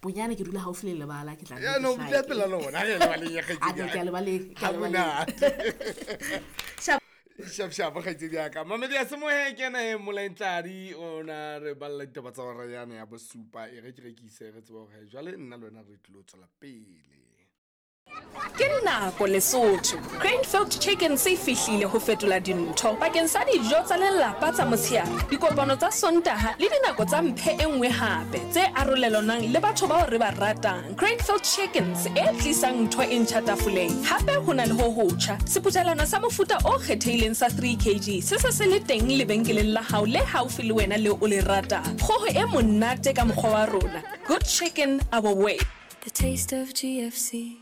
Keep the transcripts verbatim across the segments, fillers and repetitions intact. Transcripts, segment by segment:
Bonyane ke dula haufi le lebala, ke tla Ya no ke bile pela lona re lebaleng ya A kgaitsedi no, ke a lebaleng, ke a Ha lebaleng. monate. Shap shap kgaitsedi ya ka. Mamedi ya semohe ke ena e Molaentladi o na re balla ditaba tsa hora yane ya bosupa. E re ke rekise re tsebe hore jwale nna le wena re tlilo tswela pele. Ke nako Lesotho. Cranefield Chicken se fihlile ho fetola dintho bakeng sa dijo tsa lelapa tsa motshehare, dikopano tsa Sontaha le dinako tsa mphe e nngwe hape tse arolelanwang le batho bao re ba ratang. Cranefield Chickens e tlisang ntho e ntjha tafoleng. Hape ho na le ho hotjha, sephuthelwana sa mofuta o kgethehileng sa three kg se se se le teng lebenkeleng la hao le haufi le wena leo o le ratang. Kgoho e monate ka mokgwa wa rona. Good chicken our way. The taste of G F C.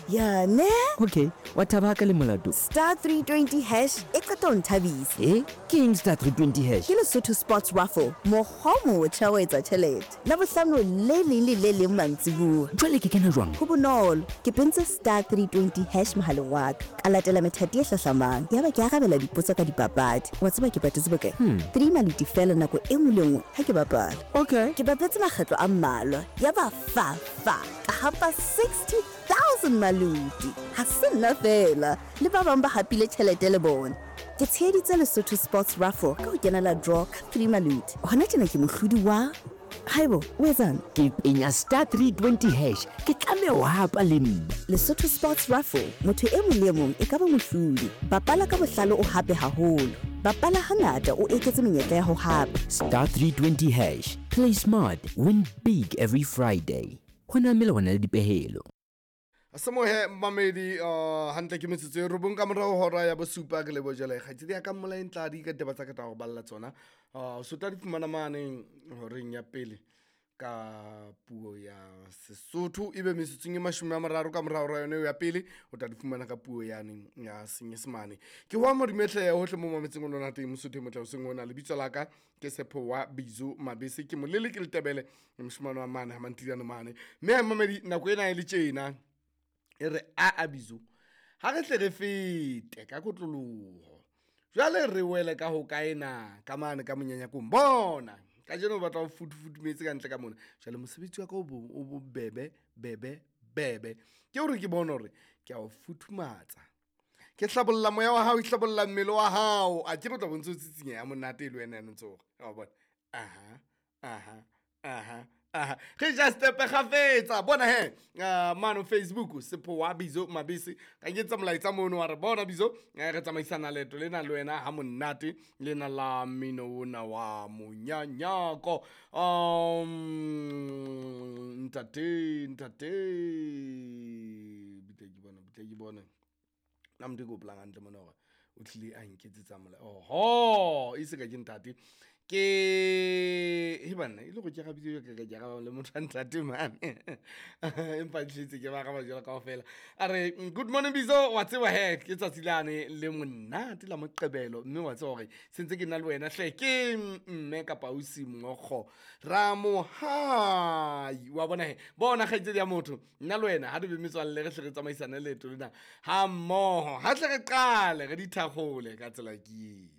Ya ne? Okay, wa thaba ka le molato. Star three twenty hash e qeta ho nthabisa. Eh? Ke eng star three twenty hash? Ke Lesotho Sports Raffle, mokgwa o motjha wa ho etsa tjhelete. Labohlano le leng le le leng mantsibuya. Jwale ke kena jwang? Ho bonolo. Ke pentse star three twenty hash mohaleng wa ka. Ka latela methati e hlahlamang. Yaba ke arabela dipotso ka dipapadi. Wa tseba ke patetse bokae? Hmm. Three maluti fela nako e nngwe le nngwe ha ke bapala. Okay. Ke bapetse makgetlo a mmalwa. Yaba fa fa. Ka hapa sixty thousand maluti. Ha se nna fela. Le ba bang ba hapile tjhelete le bona. Ke tsheheditse Lesotho Sports Raffle ka ho kenela draw ka three maluti. Hona tjena ke mohlodi wa Haibo, o etsang? Ke penya star three twenty hash. Ke tlameha ho hapa le nna. Lesotho Sports Raffle, motho e mong le e mong e ka ba mohlodi. Bapala ka bohlale o hape haholo. Bapala hangata o eketse menyetla ya ho hapa. Star three twenty hash. Play smart, win big every Friday. Ho na melawana le dipehelo. Semohe mamedi, uh, hantle ke metsotso e robong ka morao hora ya bosupa ke lebo jwale kgaitsedi ya ka Molaentladi ka ditaba tsa ka tla go balla tsona. Uh, so tla di fumana mane horeng ya pele ka puo ya Sesotho, ebe metsotsong e mashome a mararo ka morao hora yone eo ya pele o tla di fumana ka puo yane ya Senyesemane. Ke ho Modimehle hohle mo mametseng o lona teng Mosotho e motle hoseng ona. Lebitso la ka ke Sepho wa Bizo Mabese, ke molele ke Letebele, moshemane wa mane ha Mantiliano mane. Mme mamedi nako ena e le tjena e re a a Bizo ha re tle re fete ka kotloloho jwale re wele ka ho kae na ka mane ka monyanyakong. Bona kajeno o batla ho futufutumetse ka ntle ka mona. Jwale mosebetsi wa ka o bo-, o bobebe, bebe, bebe ke hore ke bone hore ke a o futhumatsa, ke hlabolla moya wa hao, ke hlabolla mmele wa hao. A ke re o tla bo ntse o tsitsinyeha ha monate e le wena ya ntse o re, wa bona? Aha, aha, aha, aha. Re ja stepe kgafetsa. Bona he, ah, mano Facebook, Sepho wa Bizo Mabese. Ka nketsa molaetsa mono wa re, bona Bizo, eh, re tsamaisana leeto lena le wena ha monate, lena la mmino ona wa monyanyako. Um, ntate, ntate, bitla ke bona, bitla ke bona. Nna motho e ke hopolang hantle mona hore o tlile a nketsetsa mola-, oho, e se ka ke ntate. Ke, he banna, e le hore ke arabile jwalo ka ka ke araba le motho wa ntate mane. Empa ke tletse ke ba araba jwalo kaofela. A re, good morning Bizo, wa tseba he, ke tsatsi lane le monate la Moqebelo, mme wa tseba hore se ntse ke na le wena hle, ke mme kapa ausi Mokgo Ramohai. Wa bona he, bona kgaitsedi ya motho, nna le wena ha re be metswalle, re hle re tsamaisane leeto lena ha mmoho. Ha tle re qale re di thakgole ka tsela ke.